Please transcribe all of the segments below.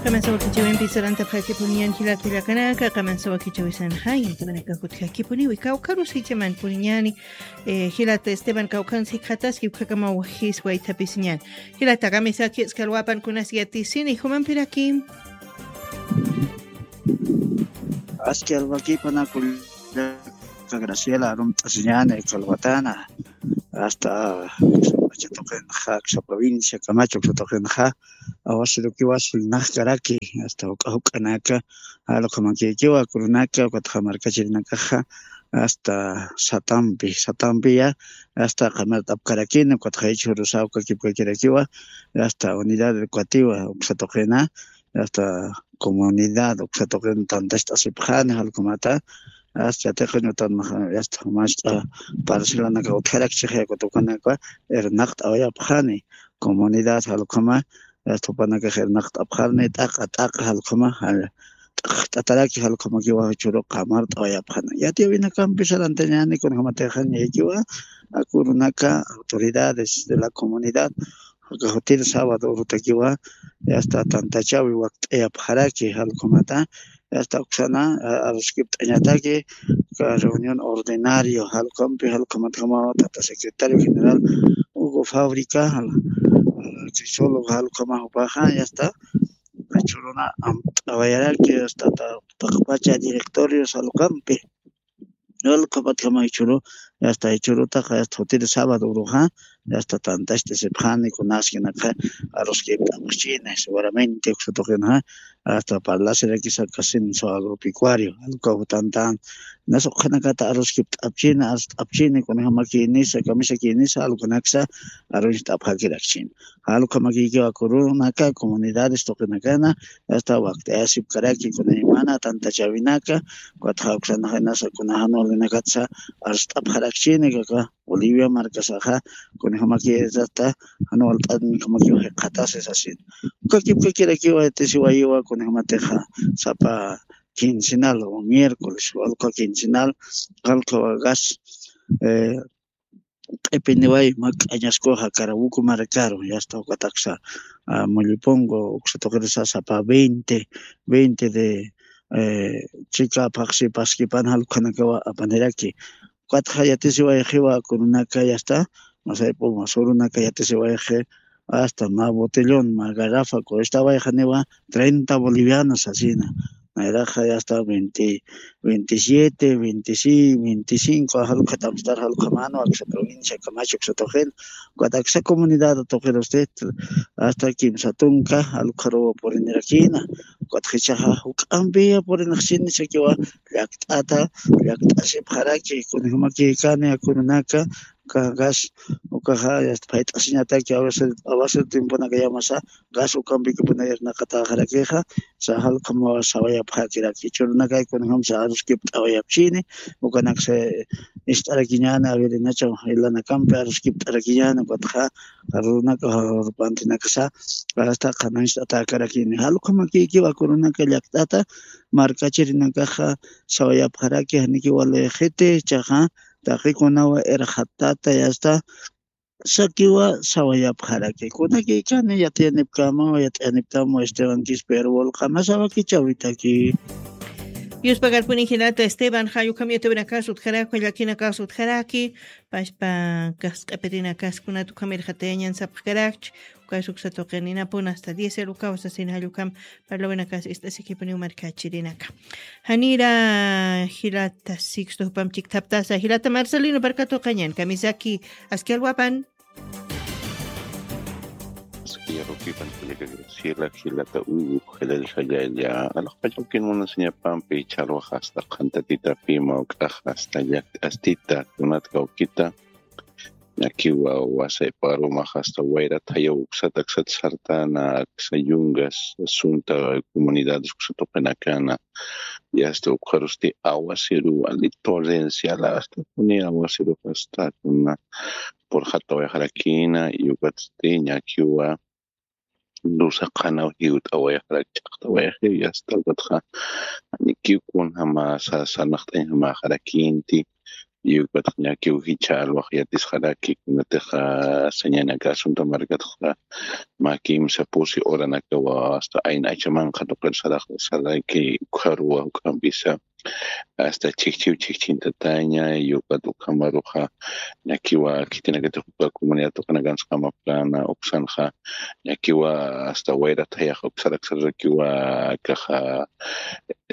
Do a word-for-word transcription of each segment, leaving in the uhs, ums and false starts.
Qamansawa kichawimpi sarantapxakipuniñan jilat kullakanaka, qamansawa kichawisanxa, yaytamanaka jutjakipuniwi, kawkharus jichamanpuniñani, eh, jilat Esteban kawkharus jikxataski, ukhakamawajis waythapisiñan. Jilat, kamisaki aski alwapan kunas yatisini, jumampiraki. Aski alwakipanaku Graciela, arumt'asiñani, kalwatana, hasta uksa pacha tuqinxa, uksa provincia, Camacho, uksa tuqinxa, awasirukiwa sullnaxkaraki, hasta juk'a juk'anaka, jalukhamakïkiwa, kurunaka, ukatxa markachirinakaxa, hasta satampi, satampiya, hasta qamart'apkarakini, ukatxa jichhürusa ukakipkakirakiwa, hasta unidad educativa, uksa tuqina, hasta comunidad, uksa tuqin tantacht'asipxani, jalukhamata, hasta yatiqin utan, hasta jumast'a parcelanaka utjarakchixi, ukat ukanaka irnaqt'awayapxani, comunidad, jalukhama, hasta jupanakax irnaqt'apxani, t'aqa, t'aqa, jalukhama, jal-, t'aqt'ataraki, jalukhamakiwa jichhüru qamart'awayapxani. Yatiyäwinakampi sarantañani, kunjamatix ñaykiwa, a kurunaka, autoridades de la comunidad, aka jutir sábado urutakiwa, hasta tantachawi wakt'ayapxaraki, jalukhamata, hasta uksana, a-, aruskipt'añataki, aka reunión ordinario, jalukampi, jalukhamatjamawa, tata secretario general Hugo Fábrica, jal-, jal-, Crisólogo, jalukhama jupaxa, hasta, jichhüruna amt'awayaraki, hasta ta-, taqpacha directorio, jalukampi. Jalukhamatjama jichhüru, hasta jichhürutaxa, hasta jutir sábado uruxa, hasta tantacht'asipxani, kunaskinaka, aruskipt'apxchini, seguramente, uksa tuqinxa, hasta parlasirakisa casinso agropecuario, jalukhaw tantan, nas ukhanakata aruskipt'apchini, arst'apchini, kunjamakïnisa, kamisakïnisa, jalukanaksa, aruñcht'apxakirakchini. Jalukhamakïkiwa kurunaka, comunidades tuqinakana, hasta wakt'ayasipkaraki, kunaymana tantachäwinaka, ukatxa uksanxa inasa kuna jan walinakatsa arst'apxarakchini, aka Bolivia markasaxa, kunjamakïsata, jan walt'anjamakiw jikxatasi sasin. Ukakipkakirakiwa, yatisiwayiwa, kunjamatixa, sapa quincenal o miércoles, walka quincenal, jalukhawa gas, eh, q'ipiniway mak'añaskuxa Carabuco markaru, yasta ukataksa, ah, Mullipongo, uksa tuqirisa sapa veinte, veinte de, eh, chika phaxsi paskipan jalukhanakawa apaniraki. Ukatxa yatisiwayxiwa kununaka yasta, masayp'u masurunaka yatisiwayxi, hasta mä botellón, mä garrafa, kunistawayxaniwa treinta bolivianos asina. Nayraxa ya está veinte, veintisiete, veinticinco, jalukhatamstar jalukhamanwa, aksa provincia, Camacho, aksa tuqin, ukat aksa comunidad tuqir usted, hasta kimsa tunka, jalukharuwa purinirakina, ukat jichhaxa juk'ampiya purinxchini sakiwa, llakt'ata, llakt'asipxaraki, kunjumakïkani, akununaka, uka gas, ukaxa, ya está, phayt'asiñataki, a veces, a veces tiemponakayamasa, gas ukampikipuna irnaqataxarakixa, sa jalkhamawa sawayapxakiraki, jichhürunakay kunjamsa aruskipt'awayapchini, ukanaksa ist'arakiñäni, averinacha jilanakampi aruskipt'arakiñäni, ukatxa, arurunaka, arupantinakasa, hasta qhanañcht'atäkarakini, jalkhamakïkiwa kununaka llakt'ata, markachirinakaxa, sawayapxaraki, janikiwa liyxiti, jichhaxa, taqikunawa irxatata, ya está, sakiwa sawayapxaraki. Kunakïkani yatiyanipkamawa, yatiyanipkamawa Esteban Quispe Erbol, qamasawa kichawitaki. Yuspagarpuni jilata Esteban, jayukham yatiyäwinakas utjaraki, llakinakas utjaraki, pachpa kax q'ipirinakas kunat ukham irxatayañan sapxkarakchi, ukas uksa tuqininapunas hasta diez erukaw sasin jayukham parlawinakas ist'asikipuniw markachirinaka. Janira jilata Sixto jupam chikthaptasa, jilata Marcelino parkatuqañan, kamisaki aski alwapan. Aski alwapan, jilata Graciela, jilata Hugo, jilata Jayalla, alaxpachawkin munasiñapampi, ch'alwax hasta qhantatitapi, mawk'ax hasta llakt'astita, kunat kawkita, Ñakiwa wasayparumax hasta wayrat jayaw uksat aksat sartana, aksa yungas, asunta comunidades uksa tuqinakana, y hasta ukxarusti aguacero wali torrencial, hasta kuni aguacero hasta kuna purxatawayxarakina, y ukatsti ñakiwa, Dusa qhanaw jiwt'awayxarak, ch'aqtawayxiw, yasta ukatxa, janikiw kunjama sa-, sarnaqt'añjamaxarakinti, Yukataq ñakiw jichha alwaq yatisxaraki, kunatixa sañanaka asunta markatxa mä kimsa pusi horanakawa hasta ayna achamanqa tuqir saraq saraki ukharuwa juk'ampisa hasta chhijchhiw chhijchhintataña, yukat ukhamaruxa ñakiwa khitinakatix uka comunidad tuqinakansqama plana uksanxa ñakiwa hasta wayra thayax uksarak sarakiwa kaxa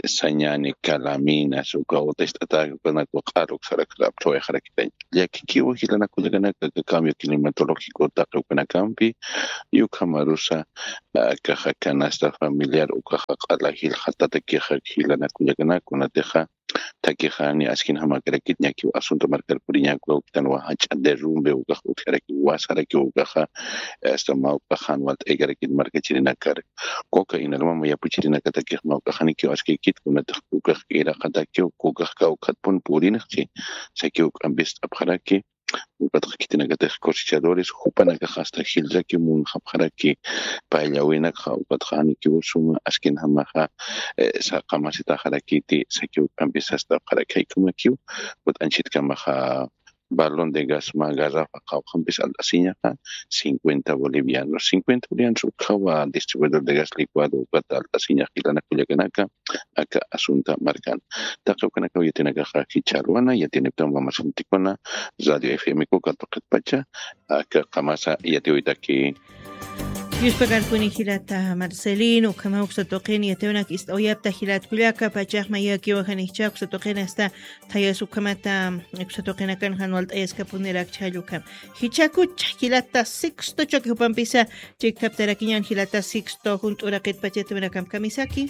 sañani, calaminas, uka utacht'atäki ukanakwa q'ar uksarakxa apthawayxarakitañ. Llakikiwa jilanak kullakanaka, aka cambio climatológico taqi ukanakampi, yukhamarusa, ah, kaxa canasta familiar ukaxa q'ala jilxatatakixa jilanak kullakanaka, kunatixa takixani askinjamakarakit ñakiw asunto markar puriñakuwa, ukitanwa jach'a derrumbe ukax utjaraki, wasaraki ukaxa, hasta mawk'axan walt'aykarakit markachirinakar. Kuka inarmama yapuchirinakatakix mawk'axanikiw askikit, kunatix kukax iraqatakiw, kukax kawkhatpun purinxchi, sakiw k'ampist'apxaraki, ukatxa khitinakatix cosechadores, jupanakax hasta jillraki munxapxaraki, payllawinakxa ukatxa janikiw suma askinjamaxa, eh, saqamasitaxarakiti, sakiw k'ampis sastapxaraki, jaykamakiw, kut'anchitkamaxa, balón de gas mä garrafa qawqhampis alt'asiñaxa, cincuenta bolivianos, cincuenta bolivianos ukhawa distribuidor de gas licuado ukat alt'asiñax jilanak kullakanaka, aka asunta markan. Taqi ukanakaw yatinakaxa jichha alwana, yatiniptam wamasintikuna, Radio F M Coca tuqitpacha, aka qamasa yatiwitaki. Yuspakarpuni jilata Marcelino, ukhama uksa tuqin yatiwnak ist'awayapta jilat kullaka, pachax mayakiwa janijcha uksa tuqin hasta thayas ukhamata, uksa tuqinakan jan walt'ayaskapunirakcha jall ukham. Jichhakuch jilata Sixto chaki jupampisa, chiktaptarakiñan jilata Sixto, junt'uraqitpacha yatiwinakamp kamisaki.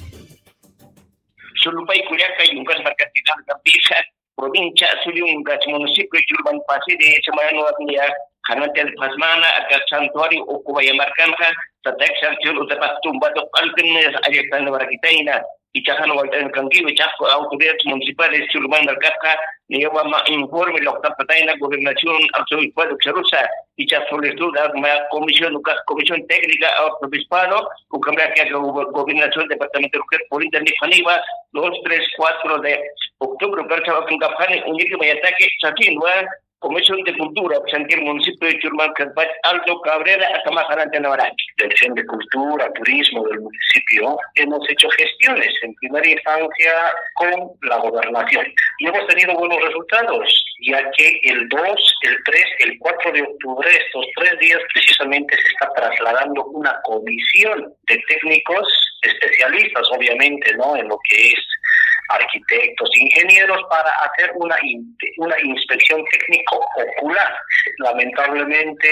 Sulupay kullaka, Yungas markatinakampisxa, provincia Azullungas, municipio Churman, pasiri semana niya, janantel pasmana, aka santuario Ocubaya markanxa, tatak santuario utapat tumbado qalpin, ayaktanwarakitayna, ichaxan walt'añakankiwa, ichax autoridades municipales Churman markatxa, niyawama informe luqtapatayna gobernación, arzobispo de Xarusa, ichax solicitud, ma comisión, ukax comisión técnica, arzobispado, ukamraki aka gobernación departamental ukat purinta niqaniwa, dos, tres, cuatro de octubre, ukarcha wakinkapxani, uñiki mayataki, sakinwa, Comisión de Cultura, Santiago Municipio de Churman, Alto Cabrera, Atamaja, Antena Baraki. Dirección de Cultura, Turismo del municipio, hemos hecho gestiones en primera instancia con la gobernación y hemos tenido buenos resultados, ya que el dos, el tres, el cuatro de octubre, estos tres días precisamente se está trasladando una comisión de técnicos especialistas, obviamente, ¿no? En lo que es arquitectos, ingenieros, para hacer una, in- una inspección técnico ocular. Lamentablemente,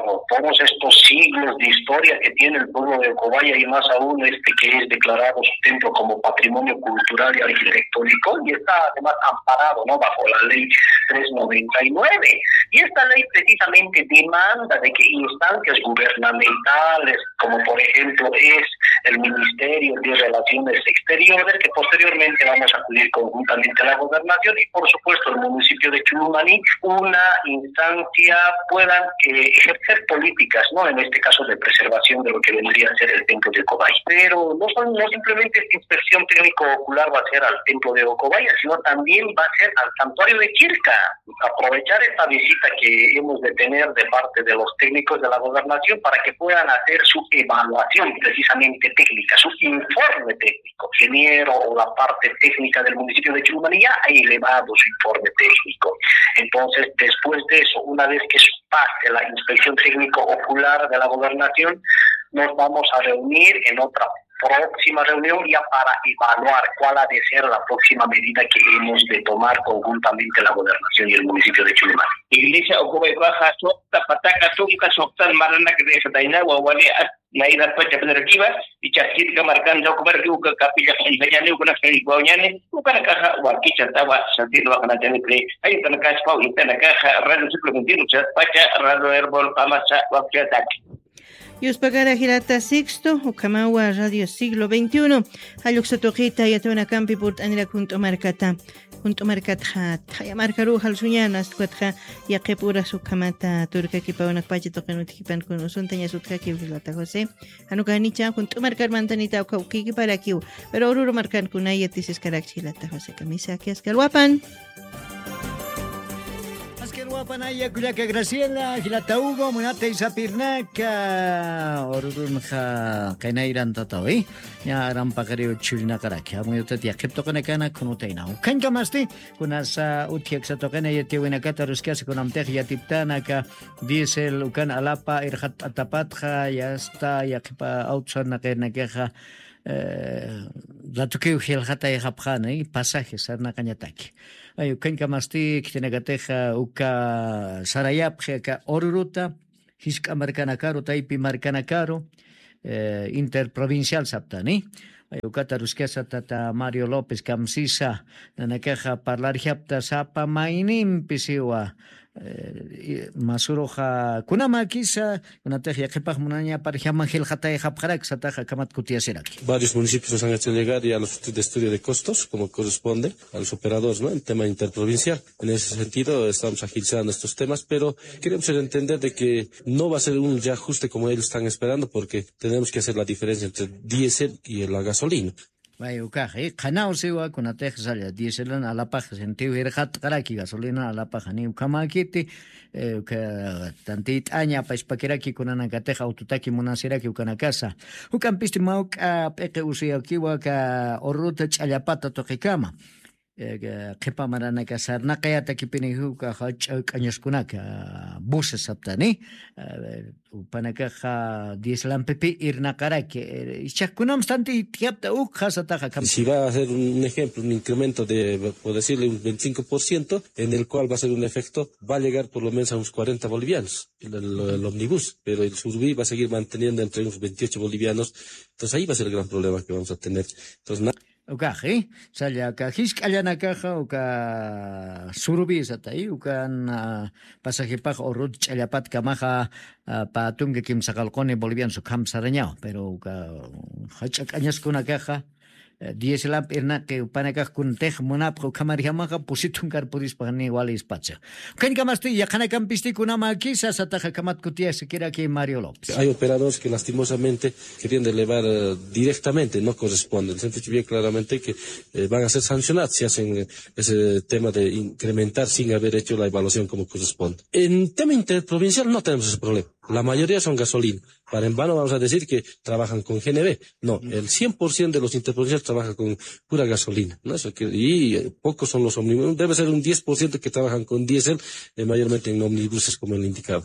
por todos estos siglos de historia que tiene el pueblo de Ocobaya y más aún este que es declarado su templo como patrimonio cultural y arquitectónico, y está además amparado, ¿no? Bajo la ley tres noventa y nueve. Y esta ley precisamente demanda de que instancias gubernamentales, como por ejemplo es el Ministerio de Relaciones Exteriores, que posteriormente vamos a acudir conjuntamente a la gobernación y por supuesto el municipio de Chulumaní, una instancia puedan eh, ejercer políticas, ¿no? En este caso de preservación de lo que vendría a ser el templo de Cobay. Pero no, son, no simplemente esta inspección técnico ocular va a ser al templo de Ocobaya, sino también va a ser al santuario de Chirca. Aprovechar esta visita que hemos de tener de parte de los técnicos de la gobernación para que puedan hacer su evaluación precisamente técnica, su informe técnico. Ingeniero o la parte técnica del municipio de Chulumaní ya ha elevado su informe técnico. Entonces, después de eso, una vez que pase la inspección técnico ocular de la gobernación, nos vamos a reunir en otra próxima reunión ya para evaluar cuál ha de ser la próxima medida que hemos de tomar conjuntamente la gobernación y el municipio de Chulumaní. Iglesia Ocobay Baja, sokta pataka, tunka soktan maranak de Jataina, wawali, naira pacha penerakiva, y chakirka marcando, como que uka capilla, enseñani, uka nación, guañani, uka nakaja, wakicha, tawa, santido, wakanatani, hay una casa, y una caja, radio suplementario, pacha, radio herbol, pamasa, wakicha, ataque. Yuspagara jilata Sixto, ukhamawa Radio Siglo veintiuno, jalluksa tuqita yatawanakampi purt'anirak junt'u markata. Junt'u markatxa thaya markaru jalsuñana, astukatxa yaqip uras ukhamata turkakipawanakpacha tuqin utjipan kun usuntañas utjakiw jilata José. Janukanicha junt'u markar mantanita ukha ukikiparakiw, pero ururu markan kunaya tisiskarakchi jilata José, kamisaki askalwapan. Panaya kullaka Graciela, jilata Hugo, munatay sapirnaka, ururunxa qinayrantatawi. Ña aram paqariw churinaqaraki. Amuyutat yaqhip tuqinakana kunutaynaw. Ukhañkamasti, kunasa utji aksa tuqina yatiyawinakata aruskasa kunamtix yatiptanaka, diésel ukan alapa irxatt'atapatxa, yasta yaqhipa auto sarnaqirnakixa, eh, ratukiw jilxatayxapxani, pasaje sarnaqañataki. Ay, ukhañkamasti khitinakatixa uka sarayapxi aka ururuta, jisk'a markanakaru, taypi markanakaru, eh, interprovincial saptani. Ay, ukata aruskasa tata Mario López kamsisa, nanakaxa parlarjapta sapa maynimpi siwa, eh, i-, masuruxa kunamakisa, kunatix yaqhipax munañaparjama jilxatayxapxarak sataxa kamat kutiyasiraki. Varios municipios nos han hecho llegar ya los estudios de estudio de costos, como corresponde a los operadores, ¿no? El tema interprovincial. En ese sentido, estamos agilizando estos temas, pero queremos hacer entender de que no va a ser un reajuste como ellos están esperando, porque tenemos que hacer la diferencia entre el diésel y la gasolina. Vay, ukax, eh, qhanaw siwa, kunatix salla, diéselan alapax sentiw irxatqaraki, gasolina alapax, ni ukhamakiti, eh, uka tantit'aña, apachpakiraki, kunanakatix autotaki munasiraki, ukanakasa. Juk'ampisti mawk'a p'iqi usuyakiwa, ka ururuta ch'allapata tuqikama. Eh, qhipa maranaka sarnaqayatakipini uka jach'a k'añaskunaka, buses saptani, eh, upanakaxa diésel ampipi irnaqaraki, eh, ichax kunamstantitiyapta ukxa sataxa kam- Si va a ser un ejemplo, un incremento de, por decirle, un veinticinco por ciento, en el cual va a ser un efecto, va a llegar por lo menos a unos cuarenta bolivianos el, el, el ómnibus, pero el surubí va a seguir manteniendo entre unos veintiocho bolivianos, entonces ahí va a ser el gran problema que vamos a tener. Entonces, na- Ukaxi, salla, aka jisk'allanakaxa, uka surubisatay, ukan, ah, pasajipax urut ch'allapatkamaxa, ah, pä tunka kimsa qallquni bolivianos ukham sarañaw, pero uka jach'a k'añaskunakaxa, eh, diésel amp irnaqi upanakax kuntix munapxa ukhamarjamaxa pusi tunkar purispaxni wali espacio. Ukañkamasti yaqhanakampistikunamakisa sataxa kamat kutiyasakiraki Mario López. Hay operadores que lastimosamente queriendo elevar, eh, directamente, no corresponde. Les hemos dicho bien claramente que, eh, van a ser sancionados si hacen, eh, ese tema de incrementar sin haber hecho la evaluación como corresponde. En tema interprovincial no tenemos ese problema. La mayoría son gasolina. Para en vano vamos a decir que trabajan con G N B. No, el cien por ciento de los interprovinciales trabaja con pura gasolina, ¿no? Eso que, y, eh, pocos son los ómnibus. Debe ser un diez por ciento que trabajan con diésel, eh, mayormente en ómnibuses, como le indicaba.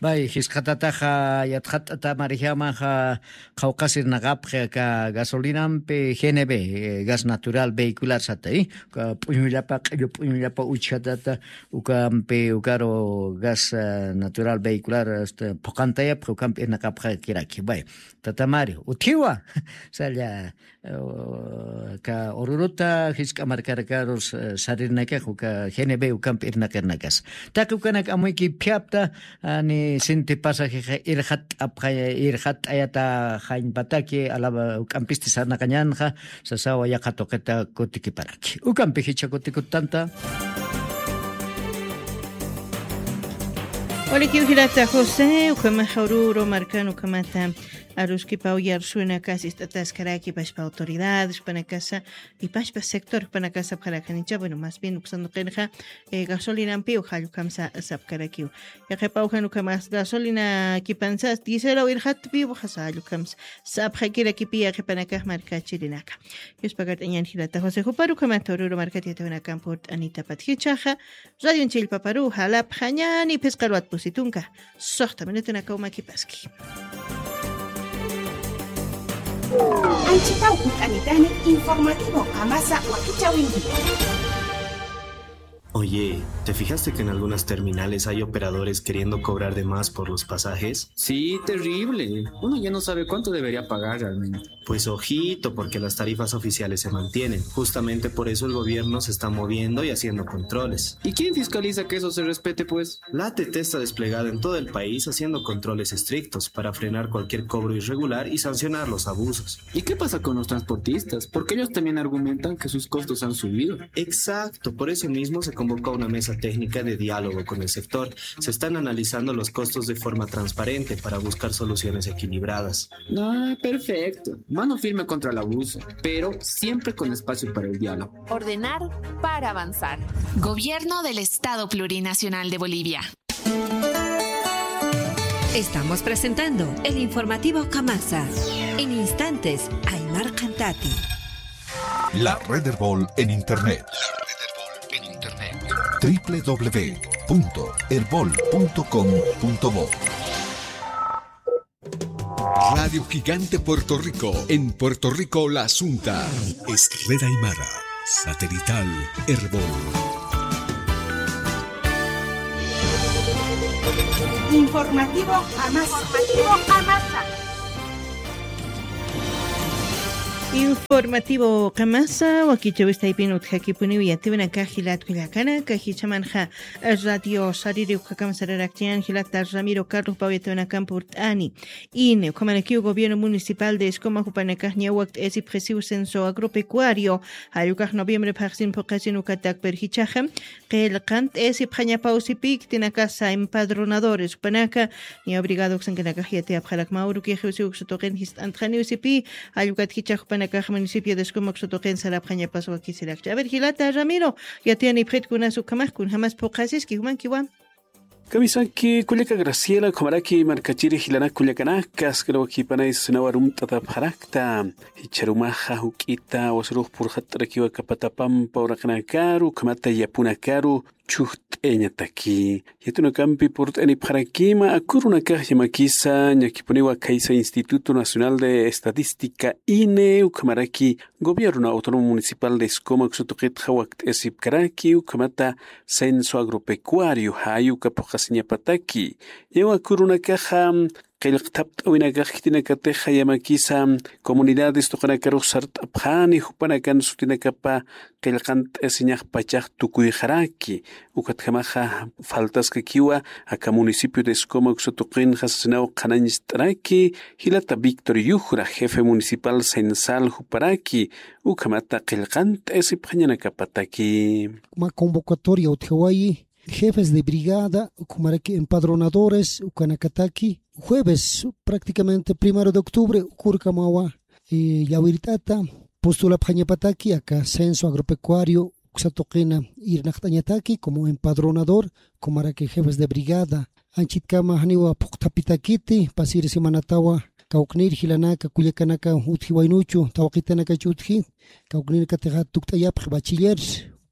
Bay, jisqatataxa, yatxat'atamarjamaxa, qhawqasirnaqapxi aka gasolinampi G N B, eh, gas natural vehicular satay, uka p'uñullapa, q'illu p'uñullapa uchjatata, ukampi, ukaru gas, eh, natural vehicular, este, phuqantayapxi, ukampi irnaqapxakiraki. Bay, tata Mario, utjiwa, salla, eh, ka ururuta jisk'a markarakarus, eh, sarirnakax, uka G N B ukampi irnaqirnakas. Taqi ukanak amuyki phiapta, ani sinti pasajexa irxat'apxa-, irxat'ayata jañpataki, alaba uk'ampisti sarnaqañanxa, sasawa yaqha tuqita kutikiparaki. Ukampi jichha kutikutanta. Walikiw jilata José, ukhamaxa ururu markan ukhamata aruskipaw yarsunakas ist'ataskaraki pachpa autoridades, jupanakasa, y pachpa sector, jupanakasa sapxarakanicha, bueno, más bien uksan tuqinxa, eh, gasolinampiw jall ukham sapxarakiw. Yaqhipaw jan ukhamas gasolina kipansas, diéselaw irxatpiw, jasa jall ukham sapxakirakipi yaqhipanakax markachirinaka. Yuspakart'añan jilata José, jupar ukhamata ururu markat yatiyawinakamp purt'anitapat jichhaxa, Radio Chillpaparu, jalapxañani phisqa alwat pusi tunka. Suxta minutunakaw makipaski. Anchitaw purt'anitani informativo Qamasa Wakichäwinti. Oye, ¿te fijaste que en algunas terminales hay operadores queriendo cobrar de más por los pasajes? Sí, terrible. Uno ya no sabe cuánto debería pagar realmente. Pues ojito, porque las tarifas oficiales se mantienen. Justamente por eso el gobierno se está moviendo y haciendo controles. ¿Y quién fiscaliza que eso se respete, pues? La A T T está desplegada en todo el país haciendo controles estrictos para frenar cualquier cobro irregular y sancionar los abusos. ¿Y qué pasa con los transportistas? Porque ellos también argumentan que sus costos han subido. Exacto, por eso mismo se Convoca una mesa técnica de diálogo con el sector. Se están analizando los costos de forma transparente para buscar soluciones equilibradas. Ah, perfecto. Mano firme contra el abuso, pero siempre con espacio para el diálogo. Ordenar para avanzar. Gobierno del Estado Plurinacional de Bolivia. Estamos presentando el informativo Kamasa. En instantes, Aymar Cantati. La Red Erbol en Internet. W W W punto erbol punto com punto bo. Radio Gigante Puerto Rico, en Puerto Rico la Asunta. Es Red Aymara, satelital Erbol. Informativo Amasa. Informativo Qamasa, wakichäwistaypin utjakipuniw yatiyäwinakax jilat kullakanaka, jichhamanxa Radio Sariri ukhakamp sararakchani, jilata Ramiro Carlos, pä yatiyäwinakamp purt'ani. INE, ukhamarakiw gobierno municipal de Escoma jupanakax ña wakt'ayasipxisiw censo agropecuario, jall ukax noviembre phaxsin phuqhasin ukatak, pero jichhaxa qillqant'ayasipxañapaw sipï khitinakasa empadronadores, jupanaka ña obrigado uksankanakax yatiyapxarakma, urukix usi uksa tuqin jist'antxaniw sipï, jall ukat jichhax jupanakax municipio de Escoma uksa tuqin sarapxañapas wakisirakchi. A ver, jilata Ramiro, yatiyanipxit kunas ukhamax, kunjamas phuqhasiski, jumankiwa. Kamisaki kullaka Graciela, ukhamaraki markachiri jilanak kullakanaka, askar wakipanay sasinaw arumt'atapxarakta. Jichharumaxa juk'ita wasirux purxatt'arakiwa aka patapampa uraqinakaru, ukhamata yapunakaru chhujt'ayañataki. Yatiyäwinakampi purt'anipxarakima, aka urunakax yamakisa ñakipuniwa khaysa Instituto Nacional de Estadística, INE, ukhamaraki Gobierno Autónomo Municipal de Escoma uksa tuqitxa wakt'ayasipkaraki, ukhamata censo agropecuario, jay uka phuqhasiñapataki. Ñawa aka urunakaxa qillqtapt'awinakax khitinakatixa yamakisa comunidades tuqinakarux sart'apxani, jupanakan sutinakapa qillqant'ayasiñax pachax tukuyxaraki. Ukatjamaxa faltaskakiwa aka municipio de Escoma uksa tuqinxa sasinaw qhanañcht'araki, jilata Víctor Yujra, jefe municipal censal juparaki, ukhamata qillqant'ayasipxañanakapataki. Mä convocatoria utjawayi, jefes de brigada, ukhamaraki empadronadores, ukanakataki, jueves, prácticamente primero de octubre, uka urkamawa, eh, llawirt'ata, postulapxañapataki, aka censo agropecuario, uksa tuqina irnaqt'añataki, como empadronador, ukhamaraki jefes de brigada, anchitkama janiwa phuqthapitakiti, pasir semanatawa, kawknir jilanaka, kullakanaka, utji waynuchu, tawqitanakachu utji, kawknirkatixa tukt'ayapxi bachiller,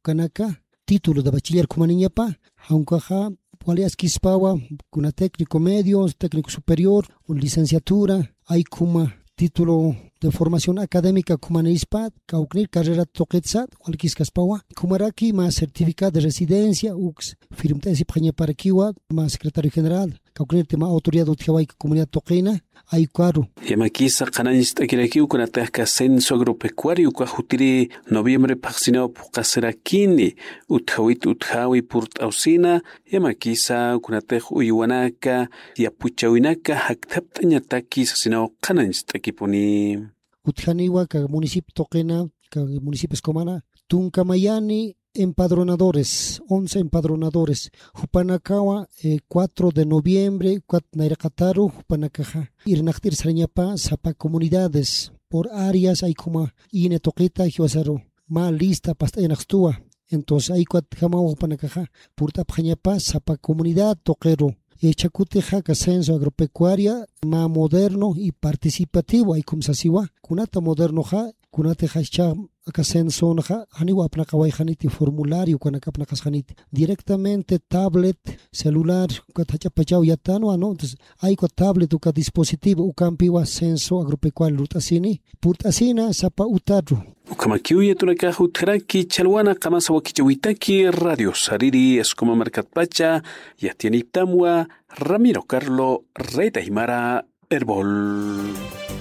ukanaka, título de bachiller ukhamañapa, jan ukaxa wali askispawa, kuna técnico medio, técnico superior, o licenciatura, jay ukhama título de formación académica ukhamañispa, kawknir carrera tuqitsa, walikiskaspawa, ukhamaraki mä certificado de residencia, uks firmt'ayasipxañaparakiwa, mä secretario general, kawknirti mä autoridad utjawayki comunidad tuqina, jay ukaru. Yamakisa qhanañcht'akirakiw kunatix aka censo agropecuario uka jutiri noviembre phaxsinaw phuqhasirakini, utjawit utjawi purt'awsina, yamakisa kunatix uywanaka, yapuchäwinaka jakthapt'añataki sasinaw qhanañcht'akipuni. Utjaniwa aka municipio tuqina, aka municipio Escomana, tunka mayani empadronadores, once empadronadores. Jupanakawa, eh, cuatro de noviembre, ukat nayraqataru, jupanakaxa irnaqt'ir sarañapa sapa comunidades, por áreas, jay ukhama INE tuqita, jiwasaru mä lista past'ayanxtuwa. Entonces, jay ukatjamawa jupanakaxa purt'apxañapa sapa comunidad tuqiru. Jichha kutixa aka censo agropecuaria mä moderno y participativo, jay ukham sasiwa. Kunata modernoxa, kunatixa jichha aka censonxa, janiw apnaqawayxaniti formulario, ukanak apnaqasxaniti. Directamente tablet, celular, ukat jach'a pachaw yatänwa, ¿no? Entonces, jay uka tablet, uka dispositivo, ukampiwa censo agropecuario lurt'asini, purt'asina sapa utaru. Ukhamakiw yatiyäwinakax utjaraki, chhalwana qamasa wakichäwitaki, Radio Sariri, Escoma markatpacha, yatiyaniptamwa, Ramiro Carlo, Red Aymara, Erbol.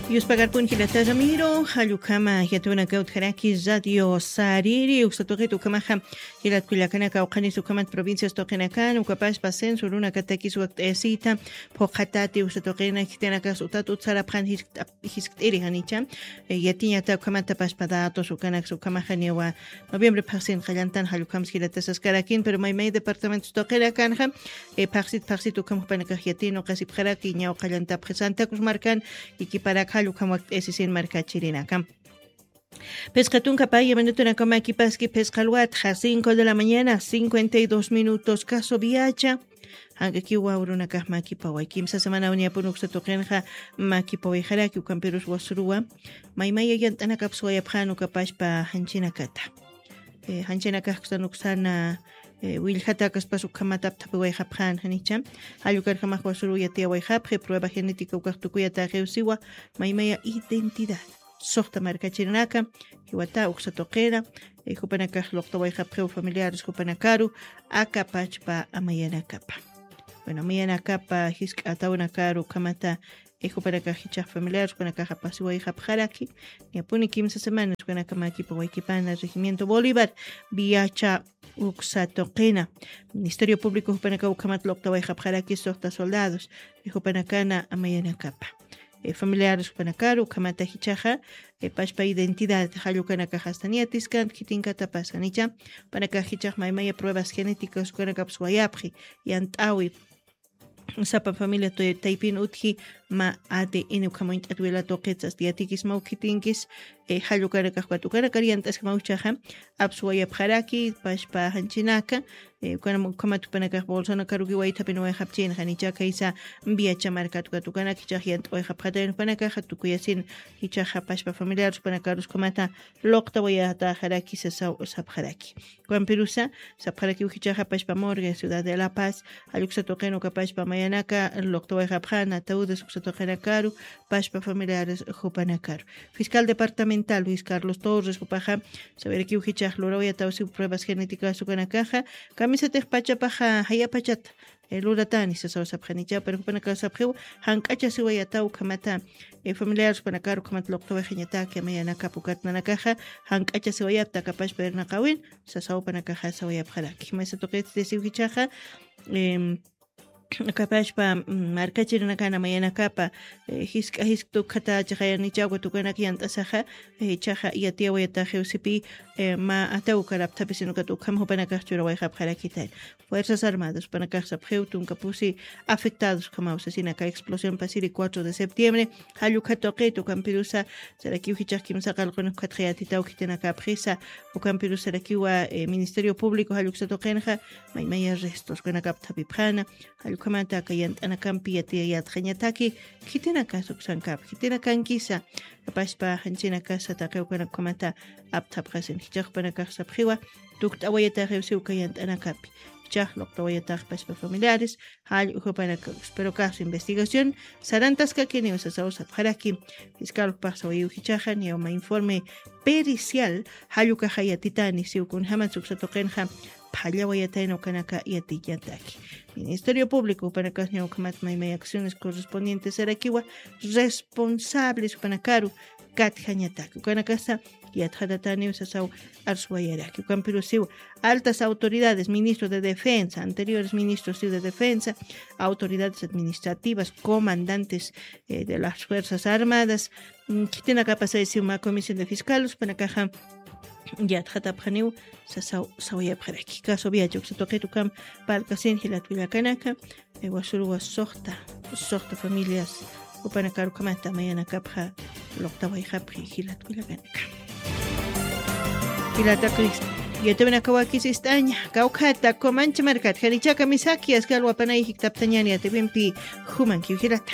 Yuspagarpun jilata Ramiro, jallukama yatuna kawtjaraki radio sariri, uksatuqit ukamaxa jilat kullakanaka uqanis ukamat provincias tuqinakan, ukapashpa censo runakatakis wakt'ayasita, phuqatati uksatuqina jitinakas utat utsarapxan jiskt'iri janicha, yatiñata ukamata pashpa datos ukanaks ukamaxa niwa noviembre phaxsin qallantan jallukams jilatasaskarakin, pero maymay departamentos tuqinakanxa, phaxsit phaxsit ukham jupanakax yatin uqasipxaraki ñaw qallantapxi Santa Cruz markan, ikiparak jall ukham wakt'ayasisin markachirinaka. Phisqa tunka paya minutunakaw makipaski phisqa alwatxa cinco de la mañana cincuenta y dos minutos, caso viacha. Jankakiw wawrunakax makipaway kimsa semana uniyapun uksa tuqinxa makipawayxaraki ukampirus wasuruwa maymaya yant'anakap suwayapxan ukapashpa janchinakata. Janchinakax uksan uksana willjata kaspas ukhamatap thapiwayxapxan janicha. Jall ukarjamax wasuruw yatiyawayxapxi prueba genética ukax tukuyata qiwsiwa maymaya identidad. Suxta markachirinaka jiwata uksa tuqina, jupanakax luqtawayxapxiw familiares jupanakaru aka pachpa amayanakapa. Bueno, amayanakapa jisk'atawnakaru ukhamata, jupanakax jichhax familiares jupanakax apasiwayxapxaraki. Ñapuni kimsa semanas jupanaka makipa waykipana regimiento bolívar viacha uksa tuqina. Ministerio público jupanaka ukhamat luqtawayxapxaraki suxta soldados, jupanakana amayanakapa. Familiares jupanakaru ukhamata jichhaxa pashpa identidad jallukanakax astan yatiskant khitinkatapasa nicha. Jupanakax jichhax maymaya pruebas genéticas jupanakapsa wayapxi yant'awi. Sapa familia taypin utji ma ADN ukham uñt'at wilatuqitsas yatikismaw khitinkis. Jallukanakax ukat ukanakar yant'askamaw jichhaxa apsa wayapxaraki pashpa janchinaka. Ukhamat jupanakax bolsonakaruki waythapin wayxapchin janicha khaysa viacha markat ukat ukanak jichhax yant'awayxapxatayan jupanakaxa tukuyasin jichhaxa pashpa familiares jupanakarus ukhamata luqtawayataxaraki sasaw sapxaraki. Ukampirusa sapxarakiw jichhaxa pashpa morgue ciudad de la paz jall uksa tuqin ukapashpa mayanaka luqtawayxapxan ataúdes uksa tuqinakaru pashpa familiares jupanakaru. Fiscal departamental luis carlos torres jupaxa sawirakiw jichhax lurawayatawsiw pruebas genéticas ukanakaxa kamisatix pachapaxa jayapachata luratani sasaw sapxanicha pero jupanakax sapxiw jank'achasiwayataw ukhamata. Familiares jupanakaru ukhamata luqtawayxañataki amayanakap ukat nanakaxa jank'achasiwayapta akapashpa irnaqawin sasaw jupanakaxa sawayapxaraki maysa tuqit desiw jichhaxa. Akapashpa markachirinakana mayanakapa jisk'a jisk'ta ukhata chiqayanicha ukat ukanak yant'asaxa. Jichhaxa yatiyawayataxiw sipi ma ataw ukarapthapisin ukat ukham jupanakax churawayxapxarakitay. Fuerzas armadas jupanakax sapxiw tunka pusi afectados ukhamaw sasinaka explosión pasiri cuatro de septiembre. Jall ukha tuqit ukampirusa sarakiw jichhax kimsa qalqun ukhatxa yatitaw khitinakapxisa. Ukampirusa sarakiwa ministerio público jall uksa tuqinxa maymaya restos ukanakap thapipxana. Jall ukhamata aka yant'anakampi yatiyayatxañataki khitinakas uksankap khitinakankisa. Apashpa janchinakasa taqi ukanak ukhamata apthapxasin jichhax jupanakax sapxiwa tukt'awayataxiwsi uka yant'anakapi. Jichhax luqtawayatax pashpa familiares jall ujupanakax pero caso investigación sarantaskakiniw sasaw sapxaraki. Fiscal jupax sawayiw jichhaxa niyawma informe pericial jall ukaxa yatitani siw kunjämatsa uksa tuqinxa phallawayatayna ukanaka yatiñataki. Ministerio público jupanakax ña ukhamat maymay acciones correspondientes sarakiwa responsables jupanakaru katjañataki ukanakasa yatxatataniw sasaw. Arsuwayaraki ukampirusiw altas autoridades ministro de defensa anteriores ministros de defensa, autoridades administrativas comandantes de las fuerzas armadas. Khitinakapasaysiw mä comisión de fiscales jupanakaxa yatxatapxaniw sasaw sawayapxaraki caso viacha uksa tuqit ukham. Parlkasin jilat willakanaka wasuruwa suxta suxta familias jupanakar ukhamata mayanakapxa luqtawayxapxi jilat willakanaka. Jilataki yatawinakawakis ist'aña kawkhata kumancha markat janichaka misaki askalwapanay jiktaptañani yatawimpi jumankiw jilata.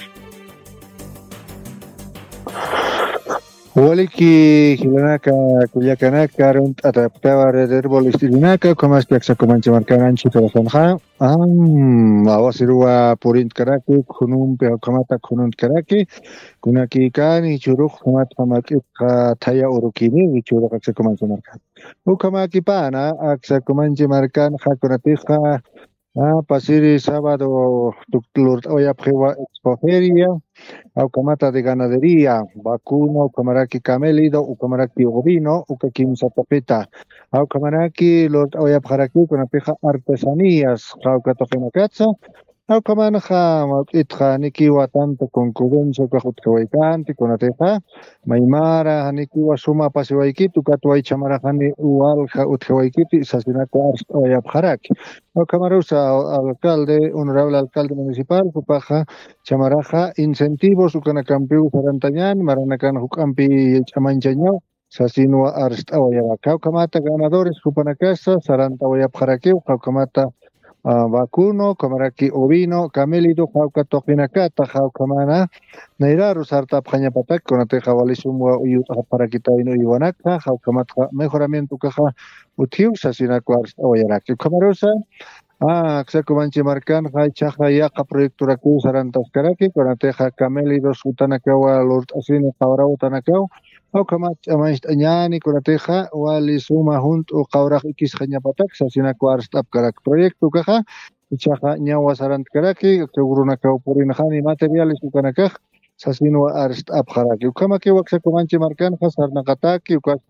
Waliki jilanaka kullakanaka runt'ataptawa red herbol istirinaka ukhamaski aksa kumancha markan anchhitarasanxa. Awasiruwa purintkaraki khunumpi ukhamata khununtkaraki. Kunakikani churux ukhamatxa mak'itxa thaya urukini churux aksa kumancha markan. Ukhamakipana aksa kumancha markanxa kunatixa Pasiri sábado lurt'awayapxiwa expoferia, awkamata de ganadería, vacuno, ukamaraki camélido, ukamaraki ovino, uka kimsa tuqita. Awkamaraki lurt'awayapxarakiw kunapixa artesanías, qawka tuqinakatsa. Awkamanxa mawk'itxa nikiwa tanta concurrencia ukax utjawaykanti kunatixa, maymara nikiwa suma pasiwaykiti ukatway chamaraxani walja utjawaykiti sasinakwa arst'awayapxaraki. Awkamarusa alcalde, honorable alcalde municipal jupaxa chamaraxa incentivos ukanakampiw sarantañani maranakan juk'ampi ch'amañchañaw sasinwa arst'awayaraki. Jawkamata ganadores jupanakasa sarantawayapxarakiw jawkamata vacuno, ukamaraki ovino, camélido, jawka tuqinakata jawkamana nayraru sartapxañapatak kunatixa walisumwa uyut'xapxarakitayna uywanakxa jawkamatxa mejoramiento ukaxa utjiw sasinakwa arst'awayaraki. Ukhamarusa aksakumanchi markanxa ichaxa yaqa proyectorakiw sarantaskaraki kunatixa camélidos utanakawa lurt'asini qawra utanakaw, awkamat ch'amañcht'añani kunatixa wali suma junt'u qawrax ikisxañapatak sasinakwa arst'apkaraki proyecto ukaxa. Ichaxa ñawa sarantkaraki, uka urunakaw purinxani materiales ukanakax sasinwa arst'apxaraki. Ukhamakiw aksakumanchi markanxa sarnaqataki ukaspa